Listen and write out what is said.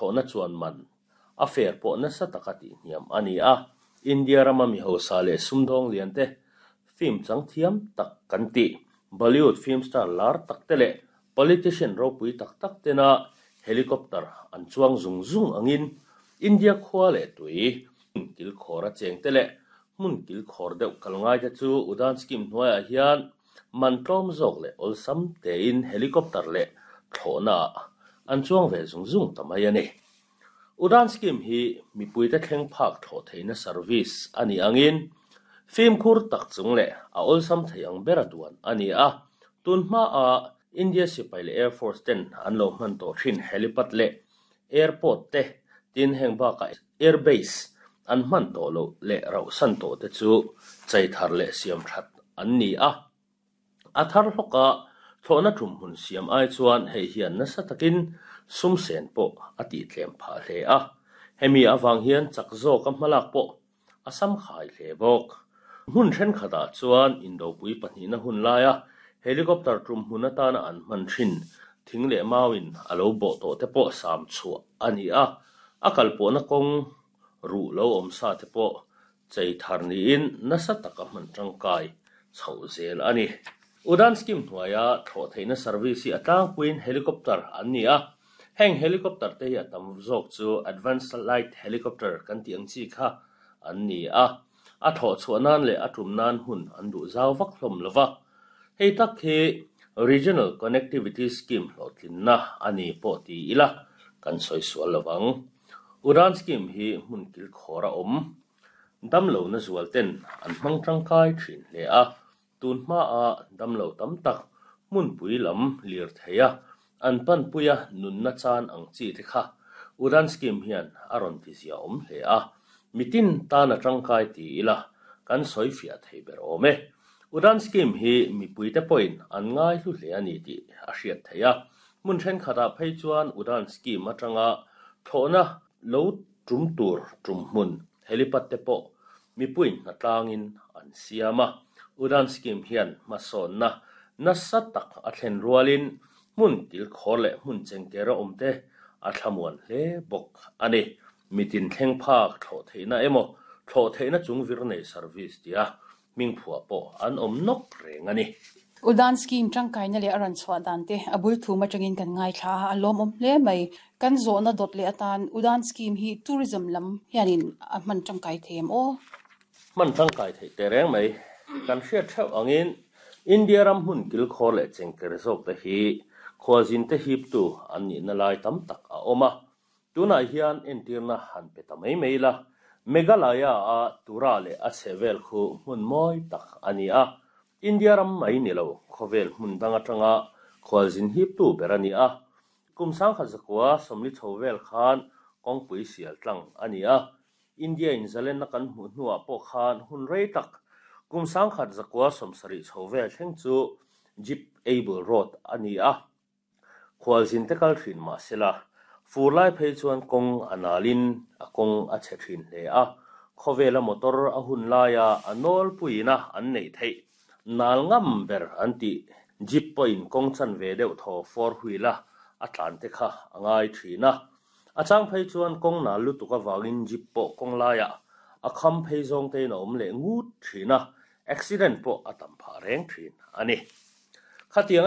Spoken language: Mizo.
thlawhna chuan man a fare pawh nasa taka tihhniam a ni a. India rama mi hausa leh sumdawng lian te film chang thiam tak kan tih Bollywood film star lar tak te leh politician ropui tak tak tena helicopter an chuang zung zung angin India khua leh tui hmun kilkhawr a cheng te leh hmun kilkhawr deuh kal ngai te chu Udan scheme hnuaiah hian man tlawm zawk leh awlsam tein helicopter leh thlawhna ah an chuang ve zung zung ta mai a ni. Udan scheme hi mipuite thleng phak thlawh theihna service a nih angin fimkhur tak chung leh a awlsam thei ang bera duan a ni a. Tun hmaa India sipai leh Air Force ten an lo hman tawh thin helipad leh airport te tin heng bakah air base an hman tawh loh leh rauhsan tawh te chu chei thar leh siam that an ni a. A thar hlawka thlawhna tum hmun siam ai chuan hei hian nasa takin sum sen pawh a tihtlem phah hle a. Hemi avang hian chak zawka hmalak pawh a sam khai hle bawk. Hmun thenkhatah chuan indopui pahnihna hun laia helicopter tum hmun atana an hman thin thing leh mauin a lo bawh tawh te pawh sam chhuah a ni a, a kalpawhna kawng ruh lo awm sa te pawh chei thar niin nasa taka hman tangkai chhoh zel a ni. Udan scheme hnuaia thlawh theihna service hi a tlangpuiin helicopter an ni a, heng helicopter te hi a tam zawk chu advanced light helicopter kan tih ang chi kha an ni a, a thlawh chhuah nan leh a tum nan hmun an duh zau vak hlawm lo va. Hei tak hi Regional Connectivity Scheme hlawhtlinna a ni pawh ti ila kan sawi sual lo vang. Udan scheme hi hmun kilkhawr a awm. Damlohna zual ten an hmang tangkai thin hle a, tun hmaa damlo tam tak hmunpui lam lir thei a, an panpuia nunna chan ang chi te kha Udan scheme hian a rawn ti zia awm hle a, mitin tan a tangkai ti ila kan sawi fiah thei ber awm e. Udan scheme hi mipuite pawhin an ngai hlu hle a ni tih a hriat theih a, hmun thenkhatah phei chuan Udan scheme atanga thlawhna lo tum tur tum hmun helipad te pawh mipuiin hnatlangin an siam a. Udan scheme hian hmasawnna nasa tak a thlen rualin hmun kilkhawr leh hmun chengkera awm te a thlamuan hle bawk a ni. Mitin thleng phak thlawh theihna emaw thlawh theihna chung vir nei service tia hmingphuah pawh an awm nawk reng a ni. Udan scheme tangkaina leh a rawn chhuah dan te a bul thum atangin kan ngaithla a, a lawmawm hle mai. Kan zawhna dawt leh atan Udan scheme hi tourism lam hianin a hman tangkai thei em aw? Hman tangkai theih teh reng mai. Kan hriat theuh angin India ram hmun kilkhawr leh chengker zawk te hi khualzin te hiptu an nihna lai tam tak a awm a. Tunah hian entirna han pe ta mai mai ila, Meghalaya-a Tura leh a chhehvel khu hmun mawi tak a ni a. India ram mai ni lo, khawvel hmun dang atanga khualzin hiptu ber a ni a. Kum sangkhat zakua sawmli chho vel khan kawngpui sial tlang a ni a. India in zalenna kan hmuh hnuah pawh khan hun rei tak kum sangkhat zakua sawmsarih chho vel thleng chu Jeep Able Road a ni a. Khualzin te kal thin mah sela, fur lai phei chuan kawng a nalin a kawng a chhe thin hle a, khawvela motor a hun laia a nawlpuiina an neih theih nal ngam ber an tih Jeep pawhin kawng chanve deuh thaw four wheel a a tlan te kha a ngai thin a. A chang phei chuan kawng nal lutuk avangin Jeep pawh kawng laiah a kham phei zawng tein a awm leh ngut thin a, accident pawh a tam phah reng thin a ni. Khatiang a.